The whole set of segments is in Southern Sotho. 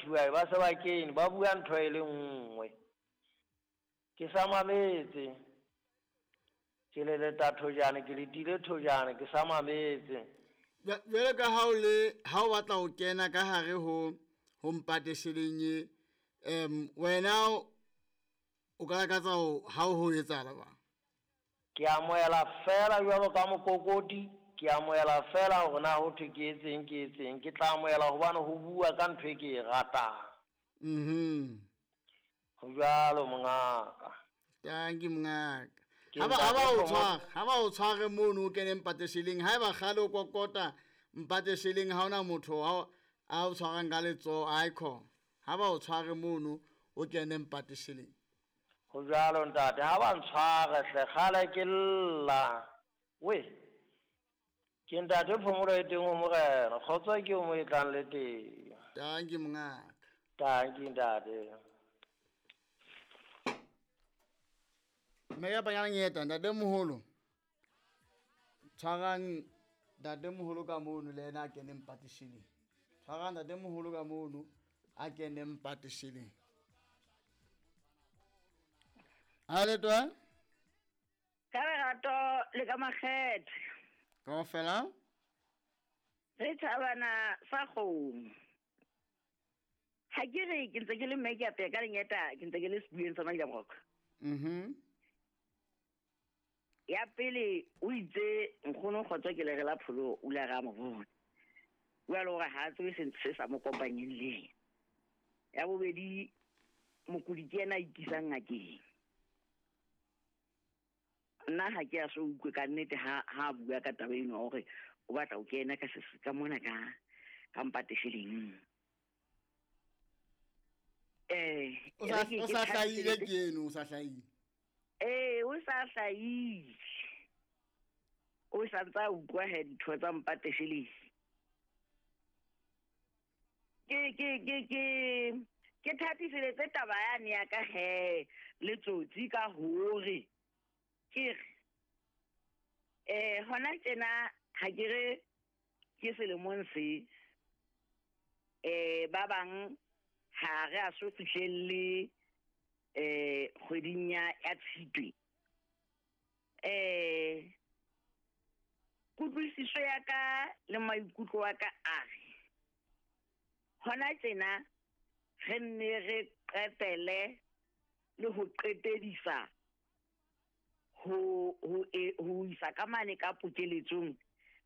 kgethuwa ba se ba kene, ba bua ntho e le nngwe. Ke sa mametse. Ke le leta thojane, ke letile thojane, ke sa mametse. Jwale ka ha o le ha o batla ho kena ka hare ho ho mpatesheleng e wena o ka lakatsa ho ha ho etsahala ba? Ke amohela fela jwalo ka mokokoti, ke amohela fela hore na ho thwe ke etseng ke etseng. Ke tla amohela hobane ho bua ka ntho e ke e ratang. Ho jwalo mongaka. Tanki mongaka. Ha ba o tshware mono o kene mpatesheleng, ha eba kgale o kokota mpatesheleng ha ona motho a o tshwarang ka letsoho, aikhona. Ha ba o tshware mono o kene mpatesheleng. Ho jwalo ntate, ha ba ntshware hle kgale ke lla. We. Ke ntate phomolo e teng ho morena, kgotso ke o mo e tlang le teng. Tanki mongaka. Tanki ntate. Mme ya panyang eta ntate moholo. Tshwarang ntate moholo ka mono le yena a kene mpatesheleng. Tshwarang ntate moholo ka mono a kene mpatesheleng. Ha le twa? Ka lerato le ka makgethe. Kaofela? Re thabana sa kgomo. Ha ke re ke ntse ke le mme ke apeya ka lenyeta, ke ntse ke le sebueng sa Madlamroka. Ya pele o itse nkgono kgotso ke lere la pholo o la ra mo bona. Jwale hore ha tsebe se sa mo kopanyeng le yena. Ya bobedi mokudi ke yena a ikisang ngakeng. Nna ha ke a so utlwe ka nnete ha a bua ka taba eno hore o batla ho kena ka se ka mona ka mpatesheleng. O sa hlahile ke eno, o sa hlahile. O sa hlahile. O sa ntsa utlwa he ditho tsa mpatesheleng. Ke thathiseletse taba yane ya ka he le tsotsi ka hore ke re hona tjena ha ke re ke selemong se ba bang ha re a so fihlelle kgweding ya Tshitwe. Kutlwisiso ya ka le maikutlo a ka a re hona tjena re nne re qetele le ho qetedisa ho isa ka mane ka pokeletsong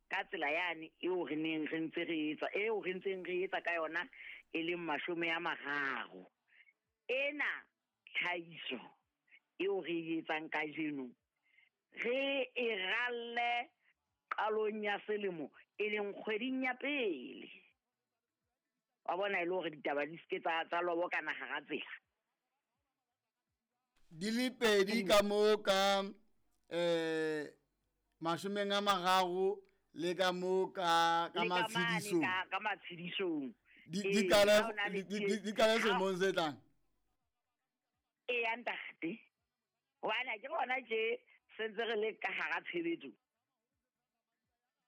ka tsela yane eo re neng re ntse re etsa, eo re ntseng re etsa ka yona e leng 30. Ena tlhahiso eo re e etsang kajeno re e ralle qalong ya selemo e leng kgweding ya pele. Wa bona e le hore ditaba di seke tsa lobokana hara tsela. Di le pedi ka mo ka 30 le ka mo ka matshedisong. Ka matshedisong. Di kale selemong se tlang. Ee ntate. Hobane ke bona tje sentse re le ka hara tshebetso.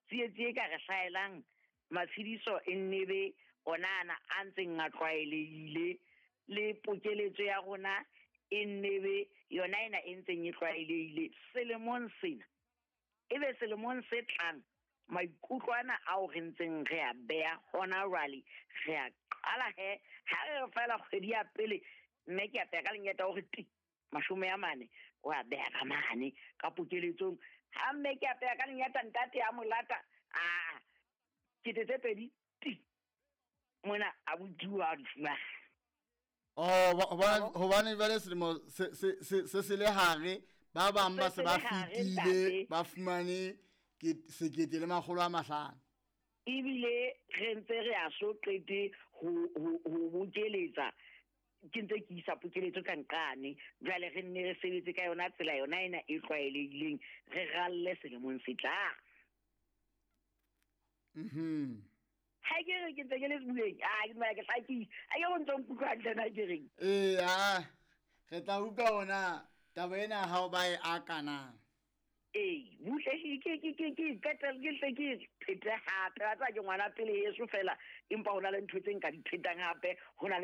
Tsietsi e ka re hlaelang matshediso e nnebe ona ana a ntseng a tlwaelehile le pokeletso ya rona e nnebe yona ena e ntseng e tlwaelehile selemong sena. Ebe selemong se tlang maikutlo ana ao re ntseng re a beha hona jwale re a qala he ha re fela kgwedi ya pele mme ke apeya ka lenyeta hore ti 40 o a beha ka mane ka pokeletsong. Ha mme ke apeya ka lenyeta ntate ya molata a 2,000 ti mona a bodiwa di fumana. Oh, hobane jwale selemo se le hare ba bang ba se ba fetile ba fumane ke 1,500. Ebile re ntse re a so qete ho bokeletsa ke ntse ke isa pokeletso ka nqane jwale re nne re sebetse ka yona tsela yona ena e tlwaelehileng re ralle selemong se tlang. Ha ke re ke ntse ke le sebueng, a ke dumela ke hlakile. A ke go ntse nkutlwa hantle na ke reng? Ee, re tla utlwa hona taba ena ha o ba e akana. Ee, buhle ke qetelle ke hle ke phete hape. Wa tseba ke ngwana pele heso fela, empa ho na le ntho tse nka di phetang hape, ho na le